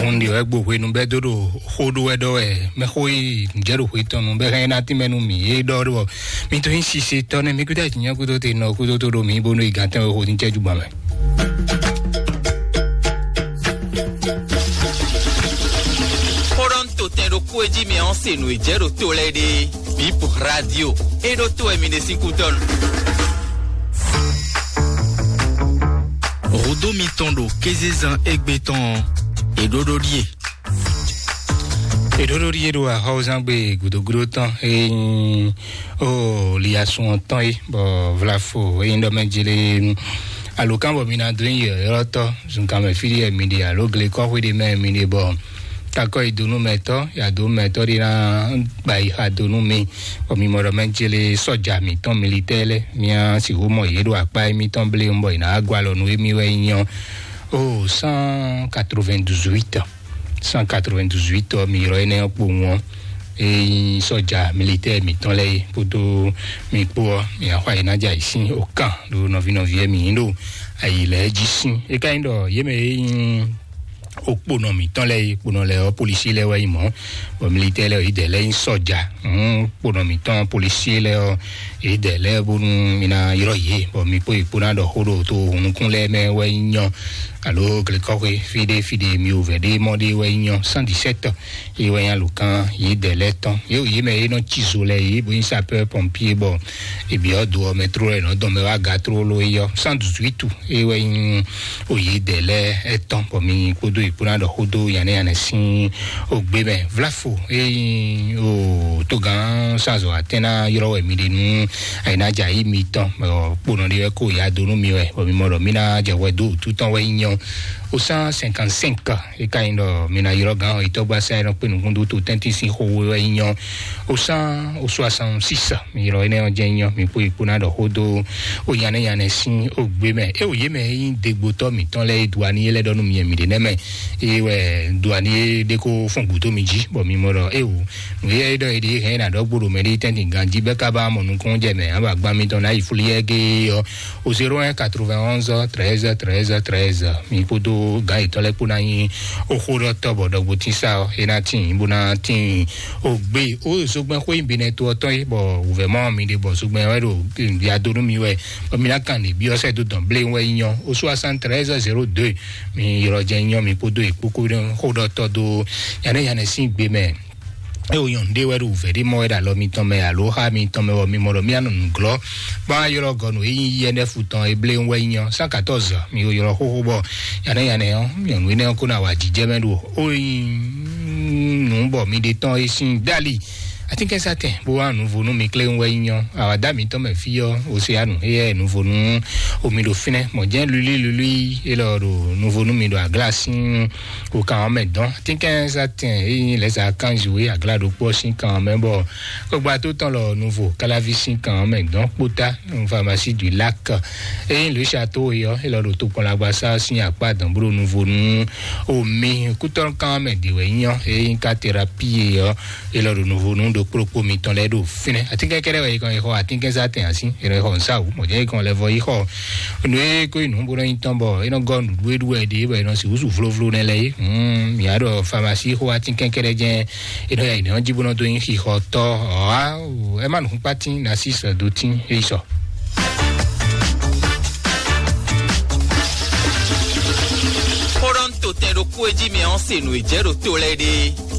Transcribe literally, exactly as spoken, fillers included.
Un ɖi wɛ gbo hwenu bɛ dó ɖo xó ɖó wɛ ɖɔ wɛ mɛ xó yi jɛ ɖo xwé tɔn nu bɛ hɛn ná tínmɛ nú mi é ɖɔ ɖɔ mi tó yin sise tɔ nɛ mi kúta jìnyɛ kútó te nɔ kútó tó ɖo mi bónú igantɛn wɛ xó ní jɛ jugba mɛ. Xó ɖɔ ń to tɛn ɖo kú e jí mi ɔ́ se nǔ e jɛ ɖo to lɛ́ɛ ɖe bip radio é ɖó tó wɛ mi ɖe sín kútɔ́nu. Rodo mitɔn ɖo kézezan égbé tɔn ɔ́, è ɖó ɖó ɖíe. È ɖó ɖó ɖíe ɖo axɔ́zán gbe gǔdógúdó tɔn e nyí o liasun ɔ́ tɔn é bɔ vlafo e nyí ɖɔ mɛ jele alukán bɔ mi ná dó nyi yɔ̌yɔ́tɔ́ zunkan mɛ fí ɖé mi ɖe alo glekɔ́xwé ɖé mɛ mi ɖe bɔ takɔ yi donu mɛtɔ ya donu mɛtɔ ɖé ná gba yi xa donu mi bɔ mi mɔ ɖɔ mɛ jele sɔja mitɔn militɛ lɛ mia sixú mɔ yě ɖo akpá émítɔn blé bɔ yě ná gɔ alɔ nú émí wɛ nyɔ o cent quatre-vingt-dix-huit. Cent quatre-vingt-dix-huit ɔ mi ylɔ énɛ́ ɔ́ kpowun ɔ́, é nyí sɔja militɛ mitɔn lɛ́ɛ é kpódó mi kpó ɔ́ mi axɔ ayǐ ná jɛ ayǐ sín okán ɖo nɔví nɔví ɛ mi nyí ɖo ayǐ lɛ́ɛ jí sín é ká nyí ɖɔ yě mɛ é nyí okponɔ mǐtɔn lɛ́ɛ é kponɔ lɛ́ɛ ɔ́ polisi lɛ́ɛ wɛ nyí mɔ̌ bɔ militɛ lɛ́ɛ ɔ́ yídɛ lɛ́ɛ nyí sɔja hǔn kponɔ mǐtɔn polisi lɛ́ɛ ɔ́ yídɛ lɛ́ɛ bónú mi ná ylɔ́ yě bɔ mi kpó yě kpó ná ɖɔ xó ɖo to hunnukún lɛ́ɛ mɛ wɛ nyí nyɔ alo glekɔxwe fíɖé fíɖé mi wò vɛ ɖé mɔ ɖé wɛ nyí nyɔ cent dix-sept. Yě wɛ nyí alukán yídɛ lɛ́ɛ tɔn yě wò yě mɛ é nɔ cí zo lɛ́ɛ yě bó nyí sapeur pompier bɔ ebi ɔ́ do ɔ́ mɛ tró lɛ́ɛ nɔ dɔn mɛ wá ga tró ló é yɔ cent dix-huit. Eye wɛ nyí oyídɛ lɛ́ɛ ɛtɔn bɔ mi kpódó yě kpó ná ɖɔ xó dó yanɛyanɛ sín ogbé mɛ vlafo eye nyí o togán sazɔ atɛn ná ylɔ́ wɛ mi ɖe nú ayǐnájà yí mitɔn bɔ kponɔ ɖé wɛ kó ya dó nú mi wɛ bɔ mi mɔ ɖɔ mi ná jɛ hwɛ dó wǔtu tɔn wɛ nyí nyɔ o cent cinquante-cinq. É ka nyí ɖɔ mi ná ylɔ́ gán ɔ́ yi tɔ́gbasá e nɔ kpé nukúndú to tɛ́ntin sín xó wɛ nyí nyɔ o cent soixante-six. Mi ylɔ́ énɛ́ ɔ́ jɛ́n nyɔ mi kpó yi kpó ná ɖɔ xó dó o nyanɛ́ nyanɛ́ sín o gbé mɛ é wò yé mɛ é nyí degbotɔ́ mǐtɔn lɛ́ɛ é duaní é lɛ́ ɖɔ nú mi mi ɖě nɛ́ mɛ é wɛ duaní é ɖé kó fɔn gǔdo mi jí bɔ mi mɔ ɖɔ é wò nǔ é ɖɔ é ɖě hɛn é ná ɖɔ gbóɖo mɛ ɖé tɛ́ntin ganjí bɛ́ ká bá mɔ nukúnnú jɛ mɛ á ba gbán mitɔn ná yi flú yɛ géé ɔ́ o zéro un quatre-vingt-onze treize treize treize. Mi kpódó gǎn yětɔn lɛ́ɛ kpó ná nyí oxó ɖɔ tɔ́ bɔ ɖɔgbo tín sá ɔ́ é ná tín bó ná tín o gbé o zogbɛn xó nyi binɛ to ɔ́ tɔn é bɔ wǔvɛ́ mɔ mi ɖe bɔ zogbɛn wɛ ɖo ya dó nú mi wɛ bɔ mi ná kan lě byɔ́ sɛ dó dɔn blé wɛ nyɔ o soixante-treize zéro deux. Mi ylɔ́ jɛ nyɔ mi kpódó yě kpókó xó ɖɔ tɔ́ dó yanɛ yanɛ sín gbé mɛ. É wò nyɔnu ɖé wɛ ɖo wǔvɛ́ ɖé mɔ wɛ ɖo alɔ mitɔn mɛ alo xá mitɔn mɛ wɔ mi mɔ ɖɔ mía nɔ nǔglɔ́ kpɔ́n ylɔ́ gɔnu e nyí yɛnɛfu tɔn e blé wɛ nyɔ cent quatorze. Mi wò ylɔ́ xóxó bɔ yanɛ yanɛ ɔ́ nyɔnu énɛ́ ɔ́ kó ná wa jijɛ mɛ ɖo o nyi nǔ bɔ mi ɖe tɔn e sín dali. Atínkɛnsátɛn bó wá nǔvo nú mi klé wɛ nyɔ àwàdá mitɔn mɛ fí ɔ́ o se anu éyɛ nǔvo nú omi ɖo fínɛ́ mɔ̌ jɛ́n lulí lulí élɔ́ ɖo nǔvo nú mi ɖo aglá sín o kan ɔ́ mɛ dɔn. Atínkɛnsátɛn e nyí lɛ̌za kanzu e aglá ɖokpó ɔ́ sín kan ɔ́ mɛ bɔ kpɔgba tó tɔn lɔ nuvo káláví sín kan ɔ́ mɛ dɔn kpótá nú pharmacie du lac. E nyí Louis Chateau e ɔ́ élɔ́ ɖo tokpɔnlagbasá sín akpá dɔn bó ɖo nuvo nú omi kútɔ́ kan ɔ́ mɛ ɖě wɛ nyí ɔ́ e nyí ká thérapie e ɔ́ élɔ́ ɖo nuvo nú ɖokpó ɖokpó mitɔn lɛ́ɛ ɖo fínɛ́. Atínkɛn kɛ́ɖɛ́ wɛ yi kɔn yi xɔ atínkɛnsátɛn ǎ sín. Ere xɔ nǔsáwǔ mɔ̌ jẹ́ ikɔn lɛ vɔ yi xɔ nǔ e kó yi nǔ bó nɔ nyi tɔn bɔ é nɔ gɔ́ nǔɖuɖu e ɖu wɛ ɖě bɔ è nɔ sixú su vlovlo nɛ lɛ é. Mǐ wá ɖɔ pharmacie xó atínkɛn kɛ́ɖɛ́ jɛ́n è nɔ ya yi nɛ̌ ɔ́ jí bó nɔ dó nyí xixɔtɔ́ ɔ́. Ɛ má nǔkúnkpátín nasí sɛ̌dótín é yi sɔ. Xó ɖɔ ń to tɛn ɖokpó e jí mi ɔ́ se nǔ e jɛ ɖo to lɛ́ɛ ɖe.